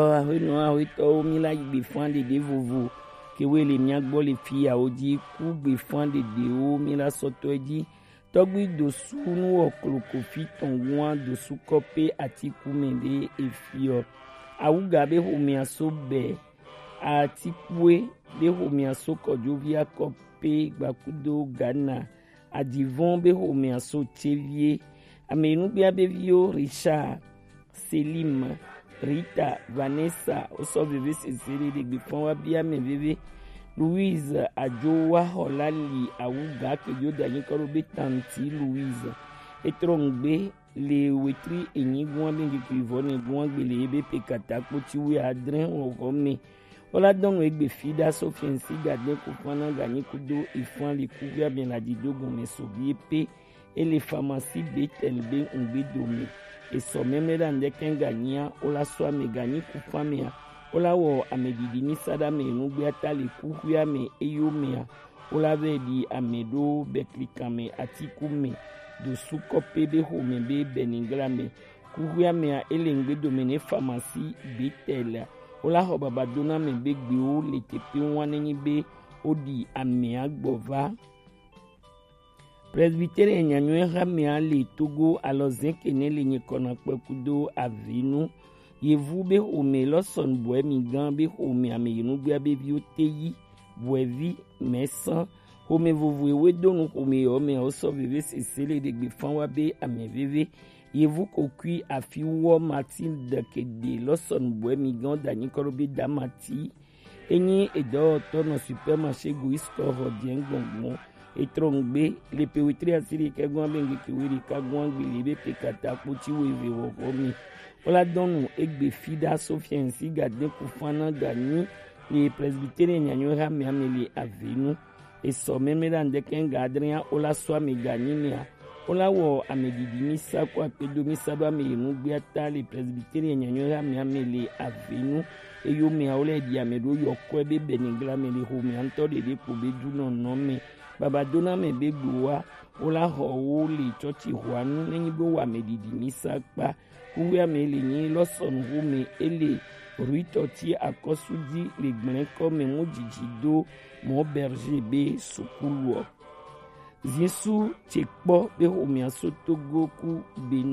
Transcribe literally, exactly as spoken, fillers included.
Aƒenɔ, aƒetɔwo, mi la yi gbefan ɖeɖe vovo ke woe le mia gbɔ le fiyawo ji. Ku gbefan ɖeɖewo mi la sɔtɔe ji. Tɔgbi dosu nu wɔ kloko fi tɔn ŋua dosu kɔpe atiku mɛ ɖe efiɔ. Awuga be xomea so bɛ, atikue be xomea so kɔjovi akɔpe gbakudo Ghana. Adivɔn be xomea so cevie. Ame nugbea be viwo Richard, Selim, Rita, Vanessa, wosɔ veve sese ɖe ɖe gbefan wa bia mɛ veve. Louise Ajowa Xɔla li awuga ke yo da nyikɔ ɖo be tanti Louise. Etrɔ ŋgbe le wetri enyi gua be ŋkeke vɔ ne gua gbele ebe pe kata kpoti wi adre wɔwɔ me. Wola dɔnu egbe fi ɖa so fiɛnsi gade kufana ganyi kudo ifan le kuvia me la dido gɔme so bi epe. Ele famasi Betel be ŋgbe dome. Esɔ mɛmlɛ ɖa ŋdɛkɛ ganyia wola sɔ ame ganyi kufamea. Wola wɔ ame didi mi sa ɖa me nugbea ta le kuxuia me eyo mea. Wola vɛ ɖi ame ɖo bɛklikan me atiku me. Dosu kɔpe be xome be bɛnigla me. Kuxuia mea ele ŋgbe dome ne famasi Betel. Wola xɔ baba dona me be gbewo le tepe ŋua nenyi be woɖi amea gbɔ va. Presbyterian nyanyɔe hamea le Togo alɔ zeke ne le nyikɔna kpekudo avinu. Yevu be xome lɔsɔn bɔɛ mi gan be xome ame yenugbea be viwo te yi bɔɛvi mɛsan. Xome vovo ewe donu xome yɔ mɛ wosɔ veve sese le ɖe gbefan wa be ame veve. Yevu kokui afi wɔ Matilde kede lɔsɔn bɔɛ mi gan da nyikɔ ɖo be damati. Enyi edɔwɔtɔ nɔ supermarché Goisco Rodiens gbɔngbɔn. Etrɔ ŋgbe le pe wetri asiri kɛ gɔn be ŋgeke weri ka gɔn gbili be pe kata kpoti wo eve wɔwɔ mi. Wola dɔnu egbe fi ɖa so fiɛnsi gade kufana ganyi le Presbyterian nyanyɔe hamea me le avenu. Esɔ mɛmlɛ ɖa ŋdɛkɛ ŋga adrɛa wola sɔ ame ganyi mea. Wola wɔ ame didi mi sa ko akpedo mi sa ɖo ame yenu gbea ta le Presbyterian nyanyɔe hamea me le avenu. Eyo mea wola ɖi ame ɖo yɔkɔe be bɛnigla me le xomea ŋutɔ ɖeɖe kpo be du nɔnɔ me. Baba dona me be gbowa wola xɔ wo le tsɔtsi xɔanu nenyi be wo ame didi mi sa kpa. Kuxuia me le nyi lɔsɔnu xome ele Ruitɔ ti akɔsu ji le gblɛnkɔ me mu dzidzi do mɔ Berger be sukuluɔ. Zisu tse kpɔ be xomea so Togo ku Benin.